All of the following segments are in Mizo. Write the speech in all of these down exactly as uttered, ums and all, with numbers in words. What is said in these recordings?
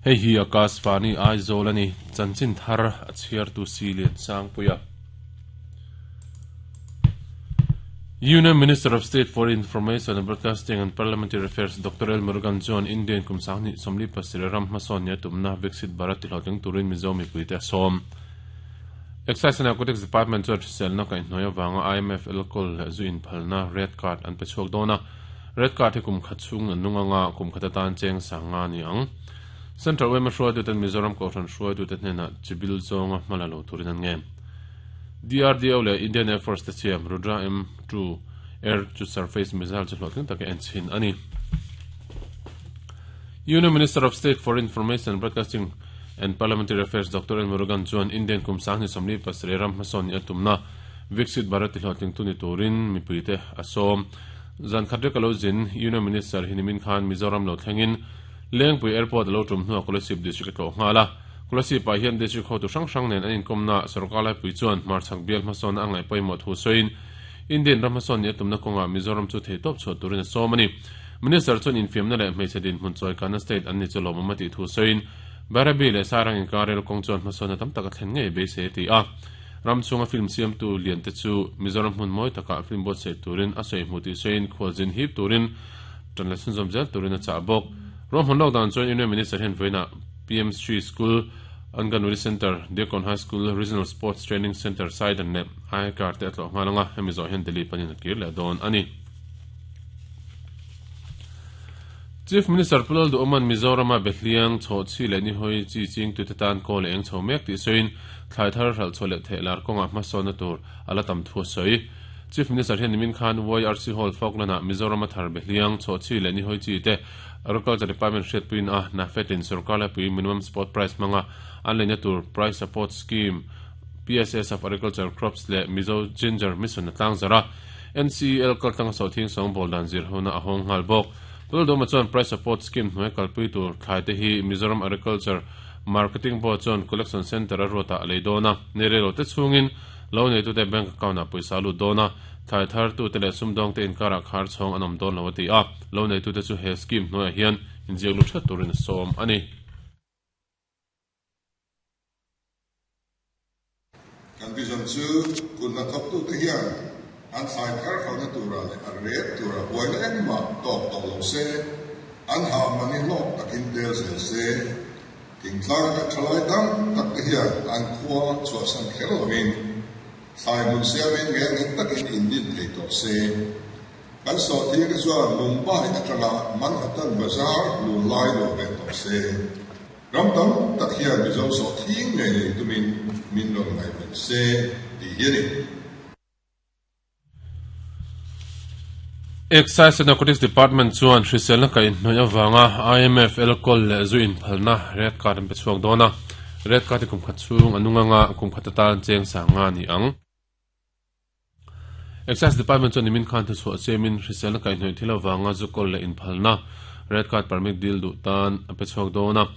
Hei hi Akashvani Aizawl ani chanchin thar a chhiar tu si lian sang puia. Union Minister of State for Information and Broadcasting and Parliamentary Affairs Doctor L. Murugan John Indian kumsang ni somli pasir ram hmasawn nia tumna Viksit Bharat ti hlawhtling turin Mizo mipuite a sawm. Excise and Narcotics Department chuan hriselna kaihhnawih avanga I M F alcohol leh zu inphalna red card an pe chhuak dawn a. Red card hi kum khat chhung an nung anga kum khat atan cheng sang nga ni ang. Central Y M A hruaituten Mizoram Kohhran hruaitute hnenah chibil zawnga hmala lo turin an nge. D R D O le Indian Air Force te chiam Rudra M two Air to Surface Missile chu hlawhtling taka en chhin ani. Union Minister of State for Information and Broadcasting and Parliamentary Affairs Doctor L. Murugan chuan Indian kumsang ni somli pasarih ram hmasawn ni a tumna Viksit Bharat ti hlawhtling tu ni turin mipuite a sawm. Zan khat rek alo zin Union Minister Hinimin Khan Mizoram lo thlengin Lengpui Airport alo tum hnuah Kolasib District a tlawh nghal a. Kolasib ah hian district hotu hrang hrang nen an inkawmna sarkar laipui chuan hmarchhak bial hmasawn a ngaih pawimawh thu sawiin Indian ram hmasawn ni a tumna kawngah Mizoram chu thei tawp chhuah turin a sawm ani. Minister chuan infiamna leh hmeichhe dinhmun chawi kana state an ni chu lawmawm a tih thu sawiin Bhairabi leh Sarang inkar rel kawng chuan hmasawn a tam taka thlen ngei beisei a ti a. Ram chhunga film siamtu lian te chu Mizoram hmun mawi takah film buatsaih turin a sawi hmu tih sawiin khualzin hip turin tan la chhunzawm zel turin a chah bawk. Ram hmun lockdown chuan Union Minister hian vawiinah P M Shri School, Anganwadi Center, Deacon High School, Regional Sports Training Center, Saidan leh I Car te a tlawh nghal anga hemi zawh hian Delhi panin a kir leh dawn ani. Chief Minister Pulal Duoman Mizorama Behliang chho chi leh ni hoi chi ching tu te tan ko leh eng chho mek tih sawiin thlai thar hral chho leh theh lar kawngah hmasawnna tur ala tam thu a sawi. Chief Minister hian nimin Khan Y R C Hall Falkland-ah Mizorama thar Behliang chho chi leh ni hoi chi te Agriculture Department hriatpuiin a NAFED-in sarkar laipui minimum support price hmanga an leina tur Price Support Scheme P S S of Agriculture Crops leh Mizo Ginger Mission a tlang zara N C L kaltlang a sawhthing sawng bawl dan zir hona a hawng nghal bawk. Puldoma chuan Price Support Scheme hnuai kalpui tur thlai te hi Mizoram Agriculture Marketing Board chuan Collection Center a ruatah a lei dawn a. Ni relo te chhungin lo nei tute bank account ah pawisa lut dawn a. Thlai thar tu te leh sumdawng te inkarah khar chhawng an awm dawn lo a ti a. Lo nei tute chu he scheme hnuaiah hian inziak lu that turin a sawm ani. Kan vision chu kunna thawk tu te hian an thlai thar khalna tura leh a ret tura buaina engmah tawk tawh lo se an ha mani hlawk takin tel zel se thingtlang kan thalai tam tak te hian an khua chhuahsan kher lovin thlai hmun siamin nge nghet takin indin thei tawh se kan sawhthing te chuan Mumbai atanga Manhattan Bazaar lun lai lo ve tawh se ram tam tak hian Mizo sawhthing ngei nei tumin min rawn ngaihven se tih hi ani. Excise and Narcotics Department chuan hriselna kaihhnawih avanga I M F alcohol leh zu inphalna red card an pe chhuak dawn a. Red card hi kum khat chhung a nung anga kum khat atan cheng sang nga ni ang. Excise Department chuan nimin khan thu chhuah siamin hriselna kaihhnawih thil avanga zu kawl leh inphalna red card permit deal duh tan a pe chhuak dawn a.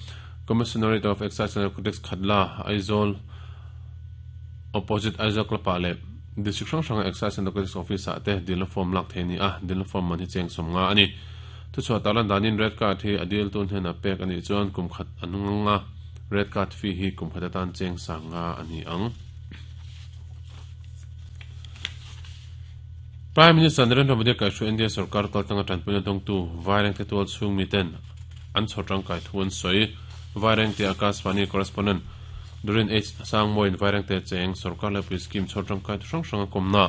Commissionerate of Excise and Narcotics Khatla Aizawl opposite Aizawl Club ah leh District hrang hranga Excise and Narcotics Office ah te dilna form lak thei ani a, dilna form man hi cheng sawm nga ani. Thu chhuah talan danin red card hi a deal tun hnenah pek ani chuan kum khat a nung anga red card fee hi kum khat atan cheng sang nga ani ang. Prime Minister Narendra Modi kaihhruai India sarkar kaltanga tanpuina dawngtu Vaireng te tual chhung miten an chhawrtang kai thu an sawi. Vaireng te Akashvani correspondent Durin H. Sangmoin Vaireng te cheng sarkar laipui scheme chhawrtang kai thu hrang hrang a kawmna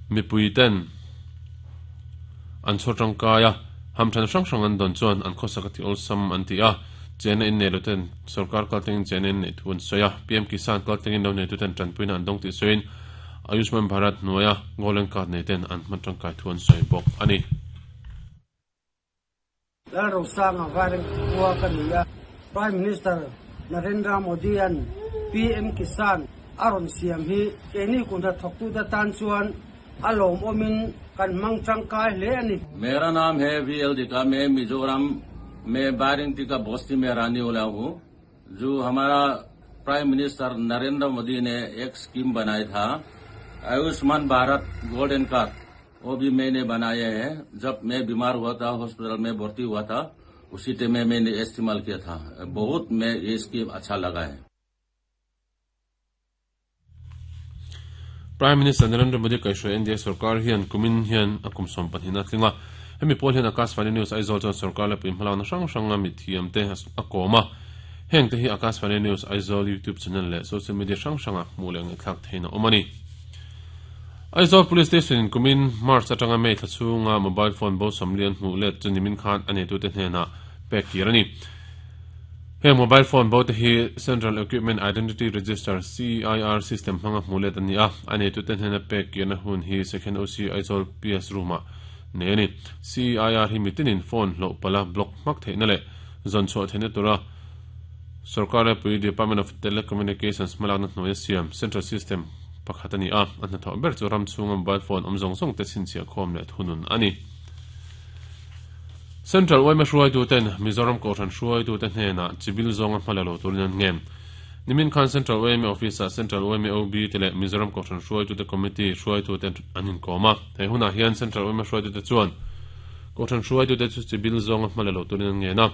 mipui ten an chhawrtang kai a hamthan hrang hrang an dawn chuan an khawsak a ti awlsam an ti a. Chena in nei lo ten sarkar kaltangin chena in nei thu an sawi a. P M Kisan kaltangin lo nei tu ten tanpuina an dawng tih sawiin Ayushman Bharat hnuaia Golden Card nei ten an hman tangkai thu an sawi bawk ani. Lal Rosanga Vaireng khua ka ni a. Prime Minister Narendra Modi an P M Kisan a rawn siam hi keini kunhna thawktu te tan chuan a lawm awmin kan hmang tangkai hle ani. मेरा नाम है V L दिका मैं मिजोरम में बारिंगटी का बस्ती में रहने वाला हूँ। जो हमारा प्राइम मिनिस्टर नरेंद्र मोदी ने एक स्कीम बनाई था आयुष्मान भारत गोल्डन कार्ड, वो भी मैंने बनाया है। जब मैं बीमार हुआ था, हॉस्पिटल में भर्ती हुआ था, उसी टाइम में मैंने इस्तेमाल किया था। बहुत मैं ये स्कीम अच्छा लगा है। Prime Minister Narendra Modi kaihhruai N D A sarkar hian kumin hian a kum sawm pahnih na tlinga hemi pawl hian Akashvani News Aizawl chuan sarkar la pui hmalakna hrang hranga mi thiam te a kawm a heng te hi Akashvani News Aizawl YouTube channel leh social media hrang hranga hmuh leh ngaihthlak theihna awm a ni. Aizawl Police Station in kumin March atanga May thla chhunga mobile phone bo sawmlian hmuh let chu nimin khan a neitute hnenah pek kir a ni. He mobile phone bo te hi Central Equipment Identity Register C I R system hmanga hmuh let ani a a neitute hnena pek kirna hun hi Second O C Aizawl P S room-ah nei ani. C I R hi mitinin phone hloh pala block hmak theihna leh zawn chhuah theihna tura sarkar pui Department of Telecommunications hmalakna hnuaia siam Central System pakhat ani a a hnathawh ber chu ram chhunga mobile phone awm zawng zawng te chhinchhiah khawm leh thunun ani. Central Y M A hruaitu ten Mizoram Kohhran hruaitu te hnenah chibil zawnga hmala lo turin an ngem. Nimin khan Central Y M A Office ah Central Y M A O B te leh Mizoram Kohhran hruaitu te Committee hruaitu te an inkawm a. Hei hunah hian Central Y M A hruaitu te chuan Kohhran hruaitu te chu chibil zawnga hmala lo turin an ngen a.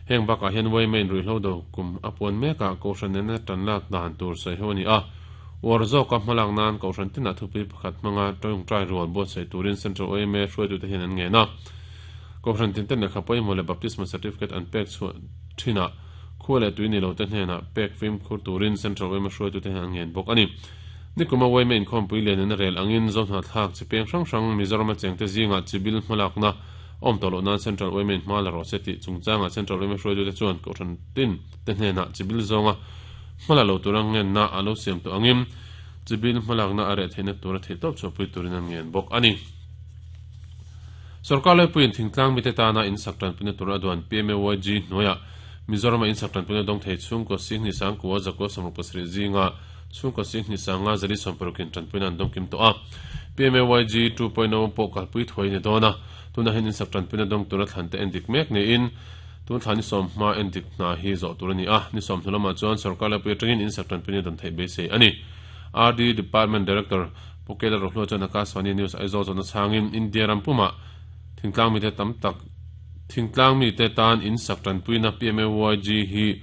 Heng bakah hian Y M A in ruihhlo do kum a puan mekah Kohhran nena tan lak dan tur sawi ho ani a. War zawka hmalak nan Kohhran tinah thupui pakhat hmanga tawngtai rual buatsaih turin Central Y M A hruaitu te hian an ngen a. Kohhran tin ten lehkha pawimawh leh baptisma certificate an pek chhuah thinah khua leh tui ni lo te hnenah pek fim khur turin Central Y M A hruaitu te hian an ngen bawk ani. Nikuma Y M A inkhawmpui lian in a rel angin zawhna thlak chi peng hrang hrang Mizoram a chengte zingah chibil hmalakna awm tawh loh nan Central Y M A in hma la rawh se tih chungchangah Central Y M A hruaitu te chuan Kohhran tin te hnenah chibil zawnga hmala lo tur ang ngenna a lo siam tawh angin chibil hmalakna a reh theihna tura theih tawp chhuahpui turin an ngen bawk ani. Sarkar laipuiin thingtlang mite tana in sak tanpuina tur a duan P M A Y G hnuaiah Mizoram a in sak tanpuina dawng thei chhungkaw singhni sangkua zakua sawmruk pasarih zinga chhungkaw singhni sanga zali sawmparukin tanpuina an dawng kim tawh a. P M A Y G two point oh pawh kalpui thuai ni dawn a tunah hian in sak tanpuina dawng tura thlan te en dik mek niin tun thlan ni sawm hma en dik hna hi zawh tur ani a. Ni sawm hnu lamah chuan sarkar laipui atangin in sak tanpuina dawn theih beisei ani. R D Department Director Pukela Rohlo chuan Akashvani News Aizawl zawhna chhangin India rampumah thingtlang mite tam tak thingtlang mite tan in sak tanpuina P M A Y G hi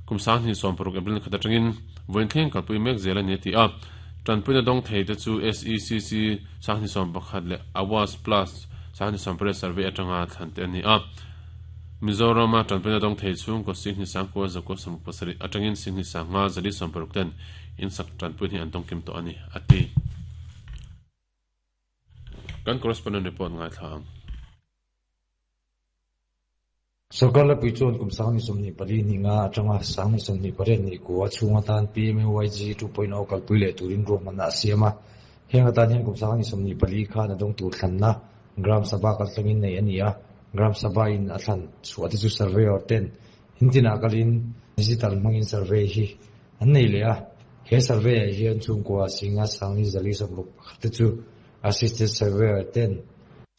kum sanghnih sawm paruk April khat atangin vawiin thleng kalpui mek zel ani ti a. Tanpuina dawng thei te chu S E C C sanghnih sawm pakhat leh Awas Plus sanghnih sawm pariat survey atanga thlan te ani a. Mizoram a tanpuina dawng thei chhungkaw singhnih sangkua zakua sawmruk pasarih atangin singhnih sanga zali sawm paruk ten in sak tanpui hi an dawng kim tawh ani ati. Kan correspondent report ngai thla ang. Sarkar laipui chuan kum sanghnih sawmhnih pali ni nga atanga sanghnih sawmhnih pariat ni kua chhunga tan P M A Y G two point oh kalpui leh turin ruahmanna a siam a. Heng atan hian kum sanghnih sawmhnih pali khan a dawng tur thlanna Gram Sabha kaltlangin nei ani a. Gram Sabha in a thlan chhuah te chu surveyor ten intinah kalin digital hmangin survey hi an nei leh a. He survey ah hian chhungkua singa sanghnih zali sawmruk pakhat te chu assisted surveyor ten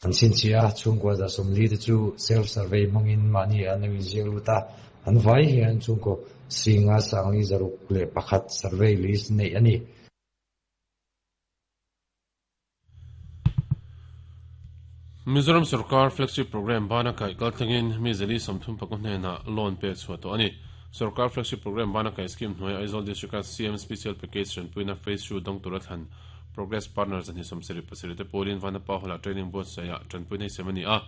an chhinchhiah a. Chhungkua za sawmli te chu self survey hmangin mahni an lo inziak lut a. An vai hian chhungkaw singa sangli zaruk leh pakhat survey list nei ani. Mizoram Sarkar flagship program bana kai kaltlangin mi zali sawmthum pakua hnenah loan pek chhuah tawh ani. Sarkar flagship program bana kai scheme hnuaia Aizawl District C M Special Package tanpuina phase two dawng tura thlan Progress Partners ani sawmsarih pasarih te pawlin Vanapa Hall-ah training buatsaihah tanpuina hi sem ani a.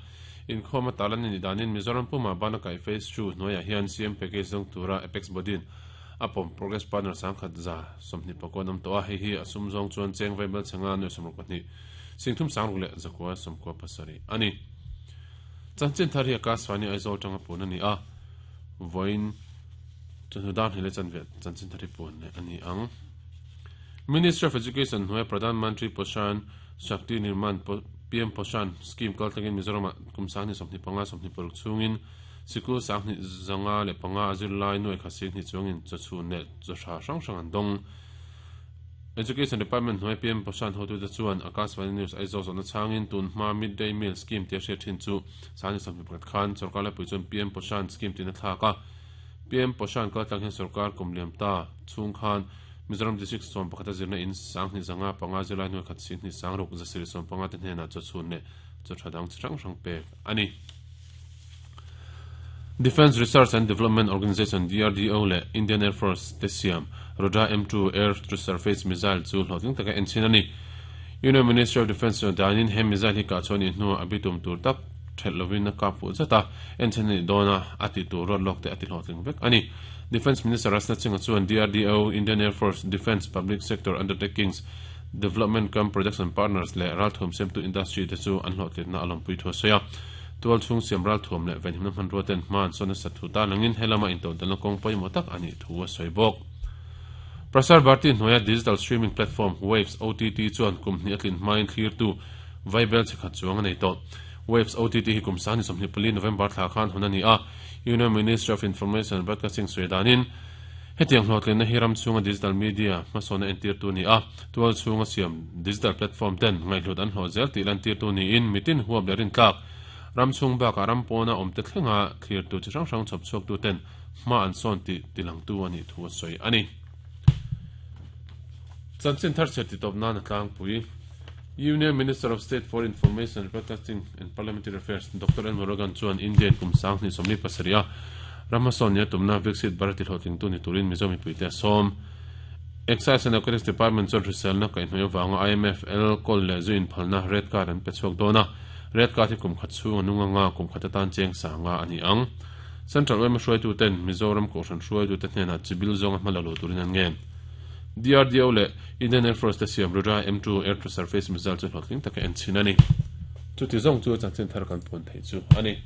Inkhawm a talan ani danin Mizoram puma bana kai phase two hnuaiah hian C M package dawng tura Apex Bodin a pawm Progress Partners sangkhat za sawmhnih pakua an awm tawh a. Hei hi a sum zawng chuan cheng vaibel changa nuai sawmruk pahnih singthum sangruk leh zakua sawmkua pasarih ani. Chanchin thar hi Akashvani Aizawl tanga pun ani a. Vawiin chawhnu dan hi leh chanve chanchin thar hi pun leh ani ang. Ministry of Education hnuaia Pradhan Mantri Poshan Shakti Nirman P M Poshan scheme kaltlangin Mizoram kum sanghnih sawmhnih panga sawmhnih paruk chhungin sikul sanghnih zanga leh panga azir lai nuai kha singhnih chuangin chawchhun leh chawhra hrang hrang an dawng. Education Department hnuaia P M Poshan hotu te chuan Akashvani News Aizawl zawhna chhangin tun hma midday meal scheme tia hriat thin chu sanghnih sawmhnih pakhat khan sarkar laipui chuan P M Poshan scheme tina thlak a. P M Poshan kaltlang hian sarkar kum liam ta chhung khan Mizoram District sawm pakhat a zirna in sanghnih zanga panga zirlai hnuai khat singhnih sangruk zasarih sawm panga te hnenah chawchhun leh chawhra dang chi hrang hrang pek ani. Defence Research and Development Organisation D R D O le Indian Air Force te siam Rudra M two Air to Surface Missile chu hlawhtling taka en chin ani. Union Ministry of Defence chuan danin he missile hi kah chuan hnuah a bitum tur tak thelh lovin a kap fuh zat a, en chin ani dawna a ti tur ruat lawk te a ti hlawhtling vek ani. Defence Minister Rajnath Singh chuan D R D O, Indian Air Force, Defence Public Sector Undertakings, Development cum Production Partners le ralthum sem tu industry te chu an hlawhtlinna a lawmpui thu a sawi a. Tual chung siam ralthum le venhimna hman ruaten hman sawn a sat thu ta langin helama intodelna kawng pawimawh tak ani thu a sawi bawk. Prasar Bharati hnuaia digital streaming platform Waves O T T chuan kum hnih a tlin hmain thlir tu Vaibel chikhat chuang a nei tawh. Waves O T T hi kum sangni sawmhnih pali November thla khan hun ani a. Union Ministry of Information and Broadcasting sawi danin hetiang hlawhtlinna hi ram chunga digital media hmasawn a entir tu ni a. Tual chunga siam digital platform ten ngaihhlut an hlawh zel tih lan tir tu niin mitin huap leh rin tlak. Ram chung bakah ram pawna awm te thlenga thlir tu chi hrang hrang chhawp chhuak tu ten hma an sawn tih tilang tu ani thu a sawi ani. Chanchin thar chhe ti tawp nan a tlangpui. Union Minister of State for Information, Broadcasting and Parliamentary Affairs Doctor N Murugan chuan Indian kum sanghnih sawmli pasarih a ramhmasawn nia tumna Viksit Bharat ti hlawhtling tu ni turin Mizo mipuite a sawm. Excise and Narcotics Department chuan hriselna kaihhnawih avanga I M F L kawl leh zu inphalna red card an pe chhuak dawn a. Red card hi kum khat chhung a nung anga kum khat atan cheng sanga ani ang. Central O M hruaitu ten Mizoram kohhran hruaitu te hnenah chibil zawnga hma la lo turin an ngen. D R D O le Indian Air Force te siam Rudra M two Air to Surface Missile chu hlawhtling taka en chin ani. Chuti zawng chu chanchin thar kan pawn thei chu ani.